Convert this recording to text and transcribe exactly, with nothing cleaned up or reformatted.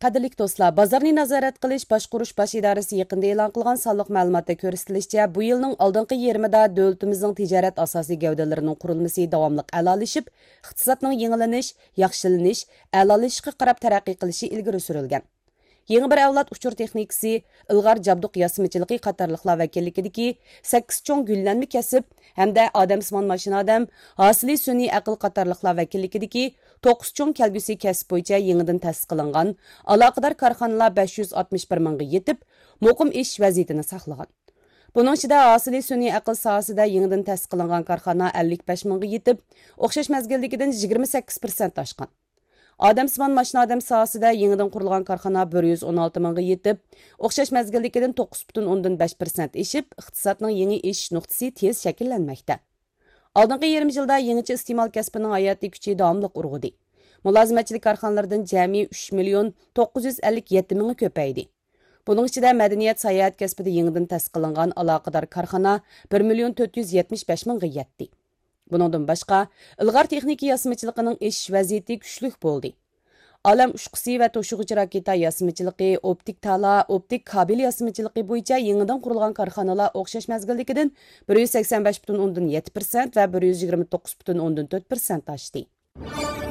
قەدىرلىك دوستلار، بازارنى نازارەت قىلىش باشقۇرۇش باش ئىدارىسى يېقىندا ئېلان قىلغان سانلىق مەلۇماتتا كۆرسىتىلىشىچە، بۇ يىلنىڭ ئالدىنقى يېرىمىدا دۆلىتىمىزنىڭ تىجارەت ئاساسىي گەۋدىلىرىنىڭ قۇرۇلمىسى داۋاملىق ئەلالىشىپ، ئىقتىسادنىڭ يېڭىلىنىش، ياخشىلىنىش، ئەلالىشىشقا قاراپ تەرەققىي قىلىشى ئىلگىرى سۈرۈلگەن. يېڭى بىر ئەۋلاد ئۇچۇر تېخنىكىسى، ئىلغار جابدۇق ياسىمىچىلىقى قاتارلىقلار ۋەكىللىكىدىكى سەككىز چوڭ گۈللەنمە كەسىپ ھەمدە ئادەمسىمان ماشىنا ئادەم، ھاسىلى سۈنئىي ئەقىل قاتارلىقلار ۋەكىللىكىدىكى توققۇز چوڭ كەلگۈسى كەسىپ بويىچە يېڭىدىن تەسىس قىلىنغان ئالاقىدار كارخانىلار بەش يۈز ئاتمىش بىر مىڭغا يېتىپ، مۇقىم ئېشىش ۋەزىيىتىنى ساقلىغان. بۇنىڭ ئىچىدە ھاسىلى سۈنئىي ئەقىل ساھەسىدە يېڭىدىن تەسىس قىلىنغان كارخانا ئەللىك بەش مىڭغا يېتىپ، ئوخشاش مەزگىلدىكىدىن يىگىرمە سەككىز پىرسەنت ئاشقان. ئادەمسىمان ماشىنا ئادەم ساھەسىدە يېڭىدىن قۇرۇلغان كارخانا بىر يۈز ئون ئالتە مىڭغا يېتىپ، ئوخشاش مەزگىلدىكىدىن توققۇز پۈتۈن ئوندىن بەش پىرسەنت ئېشىپ، ئىقتىسادنىڭ يېڭى ئېشىش نۇقتىسى تېز شەكىللەنمەكتە. ئالدىنقى يېرىم يىلدا يېڭىچە ئىستېمال كەسپىنىڭ ھاياتىي كۈچى داۋاملىق ئۇرغۇدى. مۇلازىمەتچىلىك كارخانىلىرىدىن جەمئىي ئۈچ مىليون توققۇز يۈز ئەللىك يەتتە مىڭى كۆپەيدى. بۇنىڭ ئىچىدە مەدەنىيەت، ساياھەت كەسپىدە يېڭىدىن تەسىس قىلىنغان ئالاقىدار كارخانا بىر مىليون تۆت يۈز يەتمىش بەش مىڭغا يەتتى. بۇنىڭدىن باشقا، ئىلغار تېخنىكا ياسىمىچىلىقىنىڭ ئېشىش ۋەزىيىتى كۈچلۈك بولدى. ئالەم ئۇچقۇسى ۋە توشۇغۇچى راكېتا ياسىمىچىلىقى، ئوپتىك تالا، ئوپتىك كابېل ياسىمىچىلىقى بويىچە يېڭىدىن قۇرۇلغان كارخانىلار ئوخشاش مەزگىلدىكىدىن بىر يۈز سەكسەن بەش پۈتۈن ئوندىن يەتتە پىرسەنت ۋە بىر يۈز يىگىرمە توققۇز پۈتۈن ئوندىن تۆت پىرسەنت ئاشتى.